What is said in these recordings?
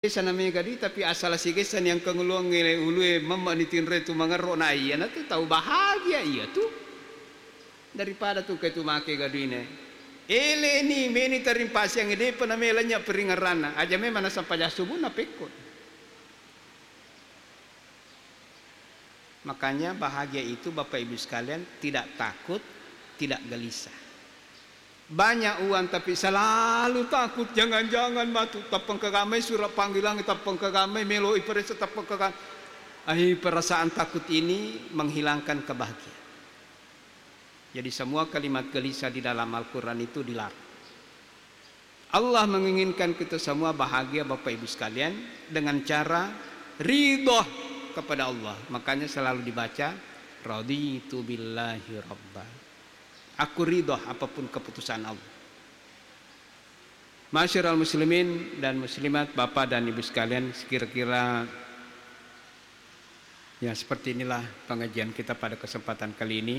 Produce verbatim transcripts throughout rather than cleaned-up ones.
Sigessa na mega dui, tapi asala sigessa ni engka nguluangnge ulue memma ni tinre tu mangerro na iya na tu tau bahagia iya tu. Daripada tu ke tu make ga duine. Ele ni meni tarimpasiang depa na mela nya peringeranna. Aja memang nasang paja subuh na pekko. Makanya bahagia itu Bapak Ibu sekalian tidak takut, tidak gelisah. Banyak uang tapi selalu takut, jangan-jangan matu tappengkagamai surat panggilan, tappengkagamai melo iperiksa, tappengkagamai. Ai, perasaan takut ini menghilangkan kebahagiaan. Jadi semua kalimat gelisah di dalam Al-Quran itu dilarang. Allah menginginkan kita semua bahagia Bapak Ibu sekalian dengan cara ridho kepada Allah. Makanya selalu dibaca, "Raditu billahi rabba." Aku ridho apapun keputusan Allah. Masyarul muslimin dan muslimat, Bapak dan Ibu sekalian, sekira-kira ya seperti inilah pengajian kita pada kesempatan kali ini.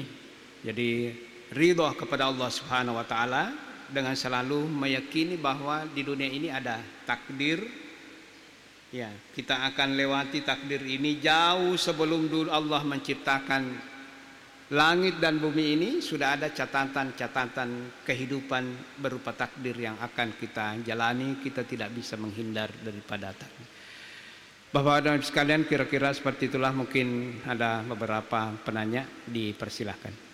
Jadi ridho kepada Allah Subhanahu wa Ta'ala dengan selalu meyakini bahwa di dunia ini ada takdir. Ya, kita akan lewati takdir ini jauh sebelum dulu Allah menciptakan langit dan bumi ini, sudah ada catatan-catatan kehidupan berupa takdir yang akan kita jalani, kita tidak bisa menghindar daripada takdir. Bapak dan Ibu sekalian, kira-kira seperti itulah, mungkin ada beberapa penanya, dipersilahkan.